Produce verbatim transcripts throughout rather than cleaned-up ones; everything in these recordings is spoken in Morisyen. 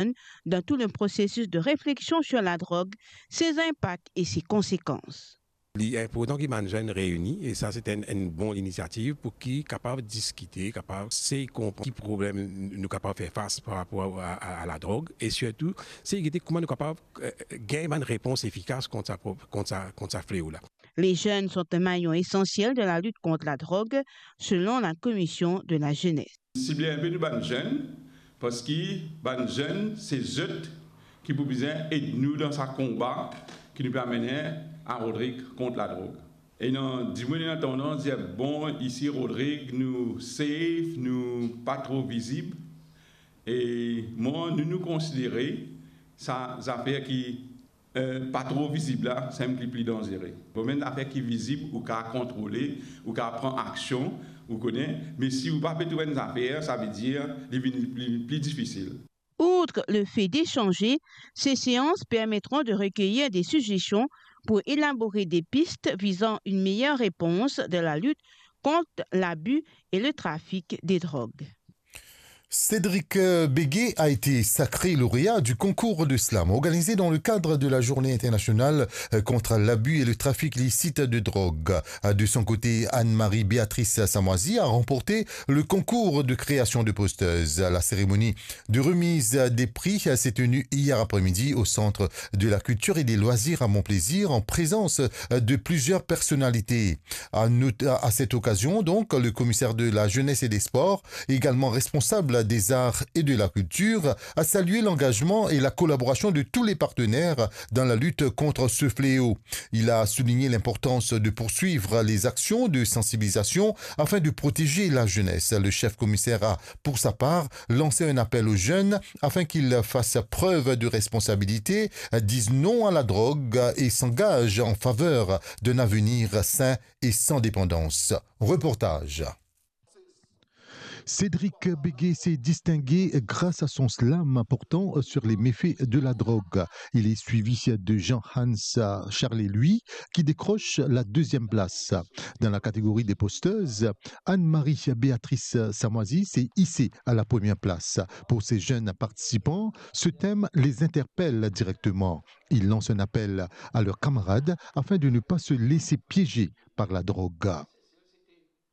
jeunes dans tout le processus de réflexion sur la drogue, ses impacts et ses conséquences. Li inportan ki bann zenn reini, e sa se enn, enn bon linisiativ pou ki kapav diskite, kapav sey konpran ki problem nou kapav fer fas par rapor a, a, a ladrog, e sirtou sey gete kouma nou kapav, eh, gagn bann repons efikas kont sa pro-, kont sa, kont sa fleo la. Les jeunes sont un maillon essentiel de la lutte contre la drogue, selon la Commission de la jeunesse. Sible inpe nou bann zenn, parski bann zenn, se zot ki pou bizin ed nou dan sa konba ki nou pe amene a Rodrig kont ladrog. Ena dimoun ena tandans dir, "Bon, isi Rodrig, nou safe, nou pa tro vizib." E mwa, nou, nou konsidere sa zafer ki eh, pa tro vizib la, sann ki pli danzere. Bon, bann zafer ki vizib, ou kapav kontrole, ou kapav pran aksion, ou kone, me si ou pa pe trouv enn zafer, savedir li vinn pli, pli difisil. Outre le fait d'échanger, ces séances permettront de recueillir des suggestions pour élaborer des pistes visant une meilleure réponse dans la lutte contre l'abus et le trafic des drogues. Cédric, euh, Béguet a été sacré lauréat du concours de slam organisé dans le cadre de la Journée internationale, euh, contre l'abus et le trafic illicite de drogue. Euh, de son côté, Anne-Marie Béatrice Samoisi a remporté le concours de création de posters. La cérémonie de remise des prix s'est tenue hier après-midi au Centre de la Culture et des Loisirs à Mont-Plaisir, en présence, euh, de plusieurs personnalités. À noter, à cette occasion, donc, le commissaire de la Jeunesse et des Sports, également responsable des arts et de la culture, a salué l'engagement et la collaboration de tous les partenaires dans la lutte contre ce fléau. Il a souligné l'importance de poursuivre les actions de sensibilisation afin de protéger la jeunesse. Le chef commissaire a, pour sa part, lancé un appel aux jeunes afin qu'ils fassent preuve de responsabilité, disent non à la drogue et s'engagent en faveur d'un avenir sain et sans dépendance. Reportage. Cédric Béguet s'est distingué grâce à son slam portant sur les méfaits de la drogue. Il est suivi de Jean-Hans Charles-Louis qui décroche la deuxième place. Dans la catégorie des posteuses, Anne-Marie Béatrice Samoisi s'est hissée à la première place. Pour ces jeunes participants, ce thème les interpelle directement. Ils lancent un appel à leurs camarades afin de ne pas se laisser piéger par la drogue.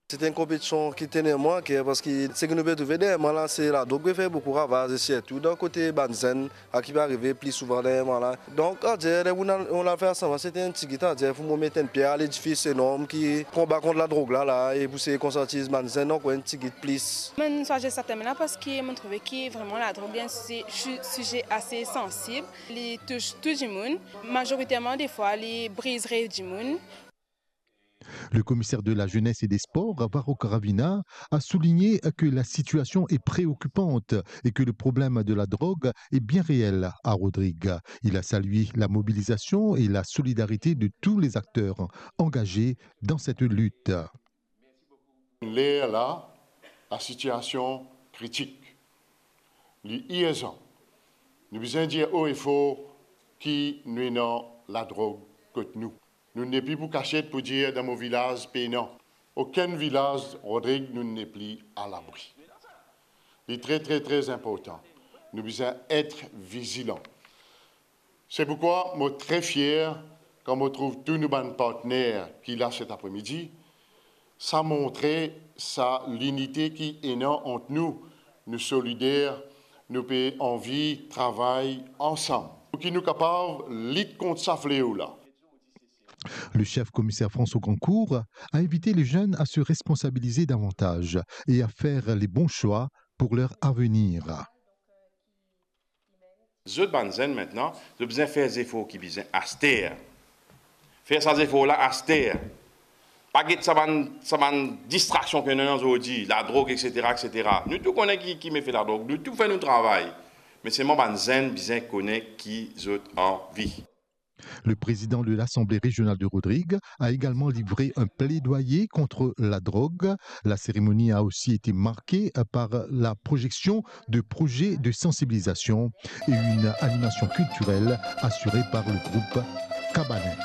Se ti enn konpetision ki tene mwa aker, parski seki nou pe trouve deryer mwa la, se ladrog pe fer boukou ravaz, e sirtou dan kote bann zenn, sa ki pe arive pli souvan deryer mwa la. Donk, adir, ler nou al, nou al fer sa, se ti enn tigit, adir, pou mo met enn pier a ledifis enorm ki konba kont ladrog la, la, e pou sey konsiantiz bann zenn ankor enn tigit plis. Mo'nn swazir sa tem la parski mo'nn trouve ki vreman ladrog li enn si-, si-, size ase sansib. Li tous tou dimoun. Mazoriterman, defwa, li briz rev dimoun. Le commissaire de la Jeunesse et des Sports, Varrouk Ravina, a souligné que la situation est préoccupante et que le problème de la drogue est bien réel à Rodrigues. Il a salué la mobilisation et la solidarité de tous les acteurs engagés dans cette lutte. Ler la, lasitiasion kritik. Li irzan. Nou bizin dir o e for ki nou ena ladrog kot nou. Nou nepli pou kasiet pou dir dan mo vilaz pena. Okenn vilaz Rodrig nou nepli alabri. Li tre, tre, tre inportan. Nou bizin et vizilan. Se poukwa mo tre fier kan mo trouv tou nou bann partner ki la set apremidi. Sa montre sa linite ki ena ant nou, nou solider, nou pe anvi travay ansam pou ki nou kapav lit kont sa fleo la. Le chef commissaire François Grandcourt a invité les jeunes à se responsabiliser davantage et à faire les bons choix pour leur avenir. Zot bann zenn mintnan, zot bizin fer zefor ki bizin aster. Fer sa zefor la aster. Pa get sa bann, sa bann distraksion ki ena zordi, ladrog, et cetera, et cetera. Nou tou kone ki, ki mefe ladrog, nou tou fer nou travay. Me selman bann zenn bizin kone ki zot anvi. Le président de l'Assemblée régionale de Rodrigues a également livré un plaidoyer contre la drogue. La cérémonie a aussi été marquée par la projection de projets de sensibilisation et une animation culturelle assurée par le groupe Cabanin.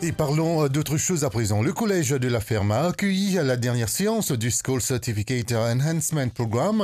Et parlons, euh, d'autre chose à présent. Le collège de la Ferme a accueilli la dernière séance du School Certificate Enhancement Programme.